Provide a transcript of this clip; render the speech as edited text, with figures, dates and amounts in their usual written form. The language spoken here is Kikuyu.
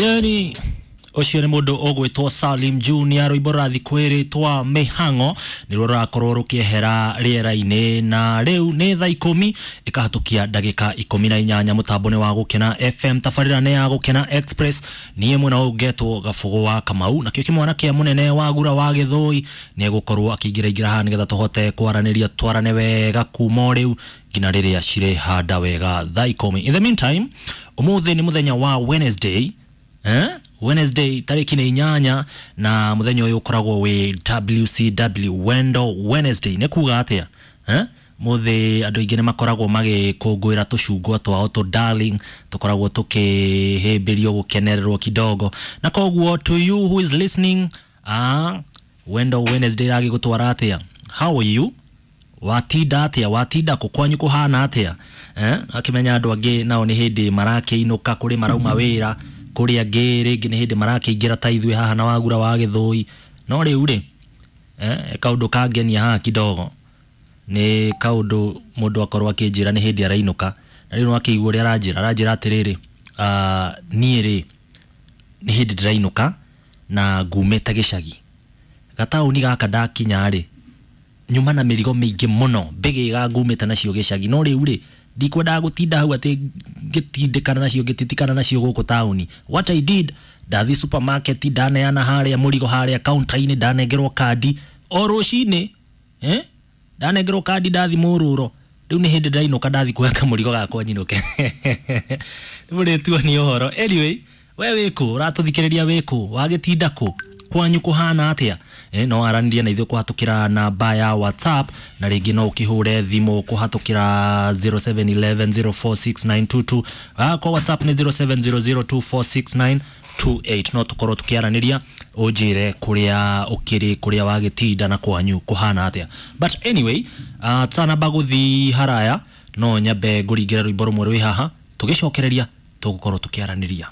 Yani ũcio nĩ mũndũ ũgwĩtwo Salim Junior, rwĩmbo rũrathiĩ kwĩrĩtwa Mĩhang'o nĩruo rũrakorwo rũkĩehera rĩera-inĩ. Na rĩu nĩ thaa 10 ĩkahatũkia ndagĩka 18. Mũtambo nĩ wa Gũkena FM, tabarĩra nĩ ya Gũkena Express. Niĩ mwena ũyũ ngetwo Gabũgũ wa Kamau, nakĩo kĩmwana kĩa mũnene wa Gura wa Gĩthũi nĩ egũkorwo akĩingĩra ingĩra haha nĩgetha tũhote kwaranĩria, twarane wega kuma o rĩu nginya rĩrĩa cirĩhanda wega thaa 10. In the meantime, ũmũthĩ nĩ mũthenya wa Wednesday, eh? Wednesday tarĩki nĩ 8, na mũthenya ũyũ ũkoragwo wĩ WCW, Wendo Wednesday. Nĩ kuga atĩa, eh? Mũthĩ andũ aingĩ nĩ makoragwo magĩkũngũĩra tũcungwa twao tũ darling, tũkoragwo tũkĩhĩmbĩrio, gũkenererwo kidogo. Na koguo to you who is listening, Wendo Wednesday ĩragĩgũtwara atĩa? How are you? Watinda atĩa? Watinda kũ? Kwanyu kũhana atĩa, eh? Akĩmenya andũ angĩ nao nĩ hĩndĩ marakĩinũka kũrĩ marauma wĩra, kũrĩ angĩ rĩngĩ nĩ hĩndĩ marakĩingĩra ta ithuĩ haha na Wagura wa Gĩthũi. No rĩu rĩ, kaũndũ kangenia haha kidogo nĩ kaũndũ mũndũ akorwo akĩnjĩra nĩ hĩndĩ arainũka, na rĩu nĩwakĩigua ũrĩa aranjĩra. Aranjĩra atĩrĩrĩ, niĩ rĩ, nĩ hĩndĩ ndĩrainũka na ngumĩte gĩcagi gataũni gaka, ndakinya rĩ, nyuma na mĩrigo mĩingĩ mũno, mbĩgĩga ngumĩte nacio gĩcagi. No rĩu rĩ, ndikwendaga gũtinda hau atĩ ngĩtindĩkana nacio, ngĩtitikana nacio gũkũ taũni. What I did, ndathi supermarket, ndaneana harĩa mũrigo harĩa counter-inĩ, ndanengerwo kandi o rũcinĩ, eh? Ndanengerwo kandi, ndathi mũrũro. Rĩu nĩ hĩndĩ ndainũka, ndathi kuoya kamũrigo gakwa nyinũke. Nĩ mũrĩtuonia ũhoro. Anyway, we wĩkũ? Ũratũthikĩrĩria wĩkũ? Wagĩtinda kũ? Kwanyu kũhana atĩa? No aranĩrie na ithuĩ kũhatũkĩra namba ya WhatsApp, na rĩngĩ no ũkĩhũre thimũ kũhatũkĩra 0711046922. Kwa WhatsApp nĩ 0700246928. No tũkorwo tũkĩaranĩria, ũnjĩre kũrĩa ũkĩrĩ, kũrĩa wagĩtinda na kwanyu kũhana atĩa. But anyway, tũtanamba gũthi haraya, no nyambe ngũringĩre rwĩmbo rũmwe rwĩ haha, tũgĩcokereria tũgũkorwo tũkĩaranĩria.